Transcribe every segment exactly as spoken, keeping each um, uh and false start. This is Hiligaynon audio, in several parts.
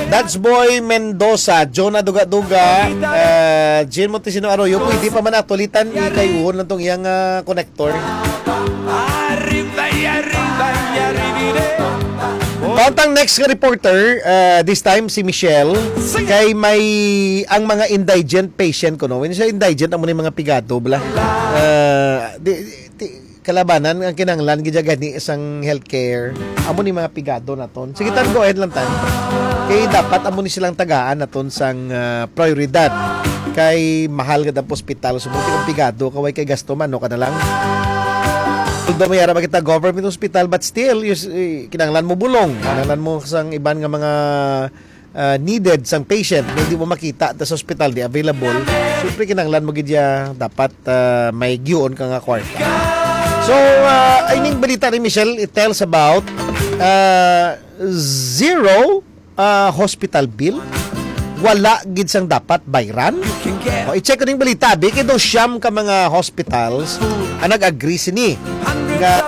That's Boy Mendoza, Jonah Duga-Duga, uh, Jean Montesino Arroyo, pwede pa man atulitan, ikayuhon lang tong iyang ah, connector. Arriba y arriba y arribire. Pauntang next nga reporter, uh, this time si Michelle, kay may ang mga indigent patient ko, no? When you say indigent, amo ni mga pigado, bala. Uh, di, di, kalabanan ang kinahanglan gid gani sang healthcare. Amo ni mga pigado naton. Sige, tan, go ahead lang tan. Kay dapat amo ni silang tagaan naton sang ah, prioridad. Kay mahal gid ang hospital. So, buti kung pigado ka, way kay gasto man, no, ka na lang. Although may ara ba kita government hospital, but still, you, s- eh, kinahanglan mo bulong. Kinahanglan mo sang iban nga mga ah, needed sang patient nga hindi mo makita ta sa hospital, di available. Siyempre, kinahanglan mo gid ya dapat ah, may giyoon ka nga kwarta. So, uh, ining balita ni Michelle, it tells about uh, zero ah, hospital bill. Wala gid sang dapat bayran. O, i-check ko ning balita, bi, kay daw siyam ka mga hospitals ang nag-agree sini nga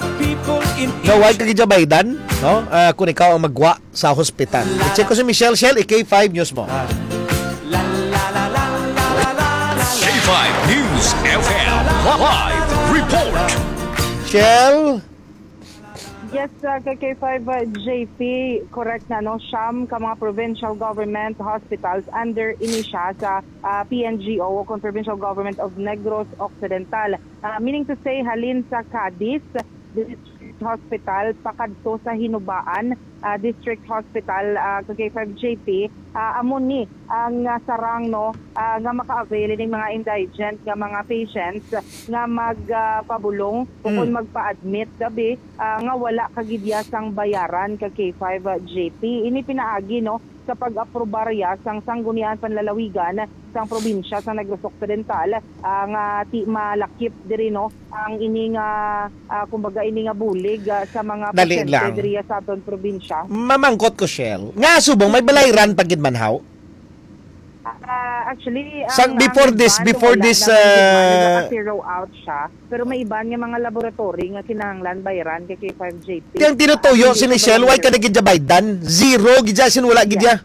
nga way ka gid baydan, no? Ah, kung ikaw ang magwa sa hospital. I-check ko si Michelle Shell, i-K five News mo. K five News F M live report. Shell? Yes, uh, K K five uh, J P, correct na, no? Siyam ka mga provincial government hospitals under ini siya sa uh, P N G O o kon Provincial Government of Negros Occidental. Uh, meaning to say, halin sa Cadiz District Hospital pakadto sa Hinubaan uh, District Hospital, uh, K K five J P, uh, amo ni ang uh, sarang, no, uh, nga maka-avail ning mga indigent nga mga patients nga magpabulong uh, o kung magpa-admit gabi uh, nga wala kagidya sang bayaran ka K five J P. Ini pinaagi, no, sa pag-aprobar ya sang Sanggunian Panlalawigan sang probinsya sa Negros Occidental uh, nga ti malakip diri, no, ang ini nga uh, kumbaga ini nga bulig uh, sa mga Dali pasyente lang. Diri sa aton probinsya. Mamangkot ko, Shell, nga subong may balayran pa gid man haw? Uh, actually, Sa, ang, before ang this, ban, before wala this, naman, uh, naka-zero out siya. Pero may iban nga mga laboratory nga kinahanglan bayran kay K five J P. Kaya ang tinutuyo si Michelle, why ka na gid baydan? Zero gid siya, sin wala gid siya.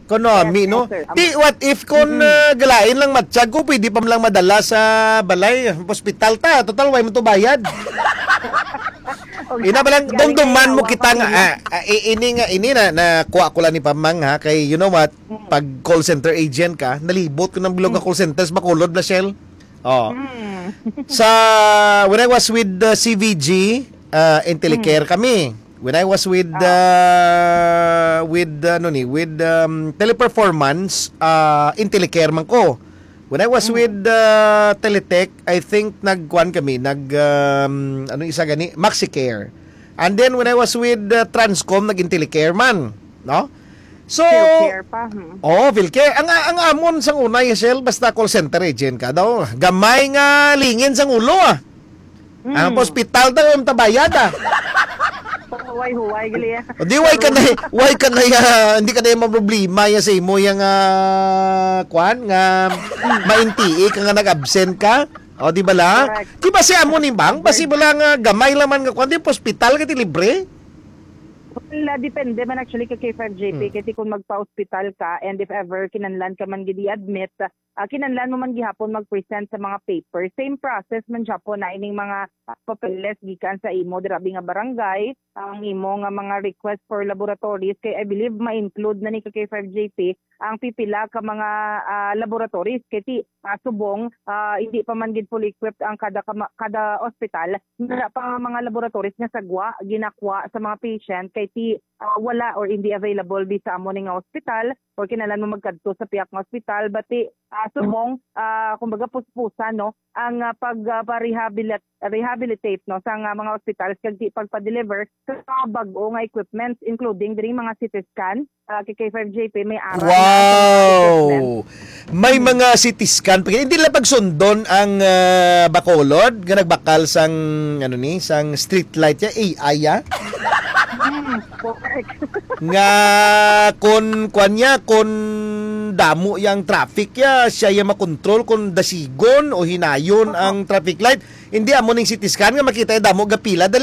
Kono, yes, ami, no? Yes, sir. Ti, what if kung mm-hmm. uh, galain lang matsyag ko, pwede pa lang madala sa balay, hospital ta. Total, why mo to bayad? Ina ba lang, dumduman mo kita nga, ah, ah, ini nga, ini na, na kuha ko lang ni Pamang ha, kay you know what, pag call center agent ka, nalibot ko ng bilog nga call center sa Bacolod na Shell. Oh. Sa, when I was with the C V G, uh, Intellicare kami. When I was with uh, with uh, ano ni, with um, Teleperformance, uh, Intellicare man ko. When I was with uh, Teletech, I think nagkuan kami, nag um, ano isa gani, MaxiCare. And then when I was with uh, Transcom, nag-Intellicare man, no? So, Philcare pa. Hmm. Oh, Philcare. Ang ang amon sang una, Yesel, basta call center agent ka daw. Gamay nga lingin sang ulo ah. Ang hospital daw yung tabayad ah. Huway-huway gali ah. Di why ka na why ka na ya, hindi ka na yung problema ya sa imo yang ah, kwan nga maintii ka nga nag-absent ka. O di bala? Correct. Di ba si amo ni bang? Basi bala nga gamay laman nga kwan di hospital ka ti libre. Well, uh, depende man actually ka K five J P. Hmm. Kasi kung magpa-hospital ka and if ever kinanlan ka man gid i-admit, uh, kinanlan mo man gihapon mag-present sa mga paper. Same process man siya po na ining mga uh, papeles gikan sa imo dirabi nga barangay, ang imo nga mga request for laboratories. Kay I believe ma-include na ni ka K five J P ang pipila ka mga uh, laboratories. Kay ti, uh, subong, uh, hindi pa man gid fully equipped ang kada kama, kada ospital. Wala pa nga mga laboratories nga sagwa ginakwa sa mga patient kay ti uh, wala or hindi available di sa amo ni nga ospital or kinahanglan mo magkadto sa piyak nga ospital, but ti uh, subong uh, kumbaga puspusan, no, ang uh, pag uh, pa-rehabilit- rehabilitate, no, sa nga mga ospital kag ti pagpa-deliver sa mga bag-o nga equipments, including diri mga C T scan, uh, K K five J P may aral. Wow! May mga C T scan pa hindi lang pagsundon ang uh, Bacolod nga nagbakal sang ano ni sang street light ya A I ya. Nga kon kwan niya, kon damo yang traffic ya, siya ya makontrol kon dasigon o hinayon ang traffic light. Hindi amo ning C T scan nga makita ya damo gapila dali